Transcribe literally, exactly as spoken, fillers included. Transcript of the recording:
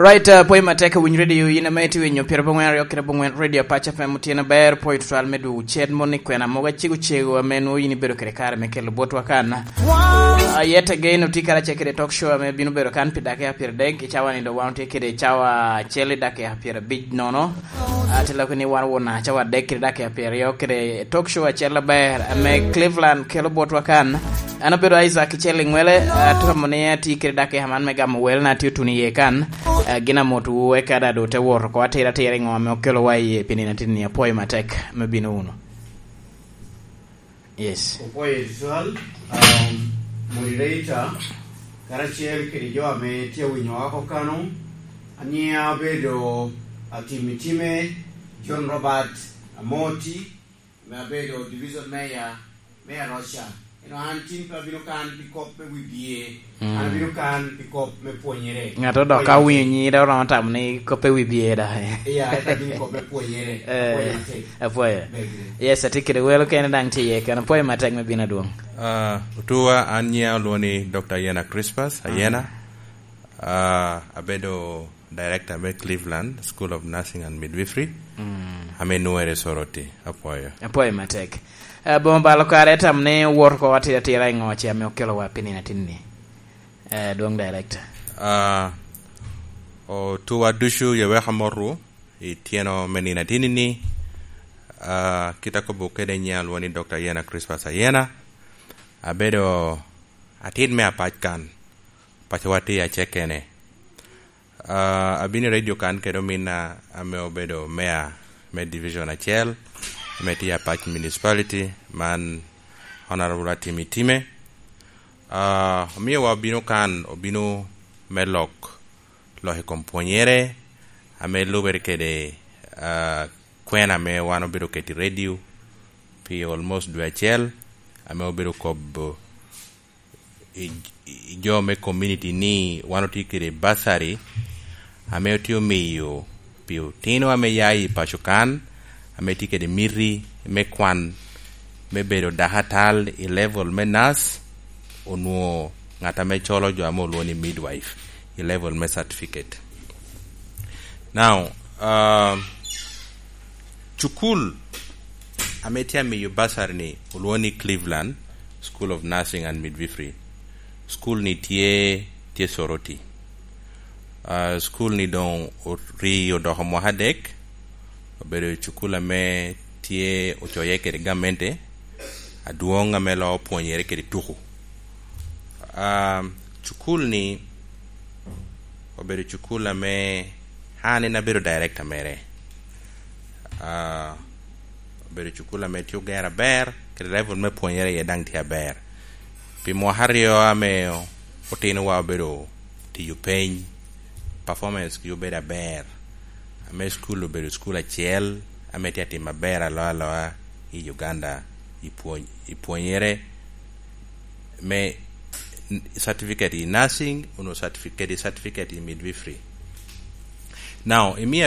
Right, uh, pwoyo matek, winyo radio, in ame itye winyo pyeradek aryo kede abongwen Radio Pac F M, otyeno aber, pwoyo tutwal me dwogo cen moni kwena mogo acego cego ame nwoŋo in ibedo kede kare me kelo botwa kan. Uh, yet again, otye karacel kede talk show ame bino bedo kan pi dakika pyeradek, i cawa ni dok wan otye kede cawa acel i dakika pyerabic nono. Uh, te loko ni wan won cawa adek kede dakika pyeraryo kede talk show acel aber ame Cleveland kelo botwa kan. An abedo Isaac Icel Iŋwele, atamo ni atye kede dakika man me gamo wel na tye otuno iye kan. Eh, gin amotwu eka daŋ doŋ te wot oko atira atira i ŋo ame okelowa iye pi nino atin-ni. Apwoyo matek me bino wunu. Yes. Opwoyo Israel, um, moderator, karacel kede jo ame tye awinyo oko kano. Anyiŋa obedo Atim Itime, John Robert Amoti, ame abedo Division Mayor me Aroca. Eno an tin pe abino kan pi kop me wibye, mm, an abino kan pi kop me pwonyere. Ŋat odok ka winyo nyingi, dok romo tamo ni kop pe wibye da. Iya, eka bino kop me pwonyere. Eh, apwoyo matek. Apwoyo. Bed ready. Yes, atye kede welo kene daŋ tye iye kene. Apwoyo matek me bino adwoŋ. Ah, otuwa, an nyiŋa olwoŋo ni Doctor Ayena Crispas, Ayena. Ah, abedo director me Cleveland School of Nursing and Midwifery, mm, ame nwoŋere Soroti. Apwoyo. Apwoyo matek. Eh, boma balo kare tam ni wot ko atira atira i ŋo ce ame okelowa pi nino atin-ni? Eh, dwoŋ director. Ah, otuwa ducu yeweka motwu i tyeno me nino atin-ni. Ah, kit akobo kede nyiŋa lwoŋo ni Doctor Ayena Crispas Ayena. Abedo atit me apac kan. Pacowa tye acekene. Ah, abino i radio kan kede ominna ame obedo mayor me division acel, ame tye Apac Municipality, man Honorable Atim Itime. Ah, omiowa obino kan, obino me lok, lok i kom pwonyere, ame lubere kede, ah, kwena ame wan obedo keto i radio pi almost dwe acel, ame obedo kobo i, i jo me community ni wan otye kede bursary ame otye omiyo pi otino ame ya i paco kan, ame tye kede miti me kwan me bedo dakatal i level me nurse, onwoŋo ŋat ame colo jo ame olwoŋo ni midwife i level me certificate. Now, um, cukul ame tye amiyo bursary ni olwoŋo ni Cleveland School of Nursing and Midwifery. Cukul ni tye, tye Soroti. Ah, cukul ni doŋ ori odoko mwaka adek, obedo cukul ame tye ocoye kede gamente adwoŋ ame loo pwonyere kede tuku. Ah, cukul ni obedo cukul ame an en abedo director mere. Ah, obedo cukul ame tye ogero aber, kede level me pwonyere iye daŋ tye aber. Pi mwaka aryo ame otinowa obedo tiyo peny, performance gi obedo aber, ame cukul obedo cukul acel ame tye atimo aber aloa aloa i Uganda, i pwony-, i pwonyere me certificate in nursing, onwo certificate, certificate in midwifery. Now, imiya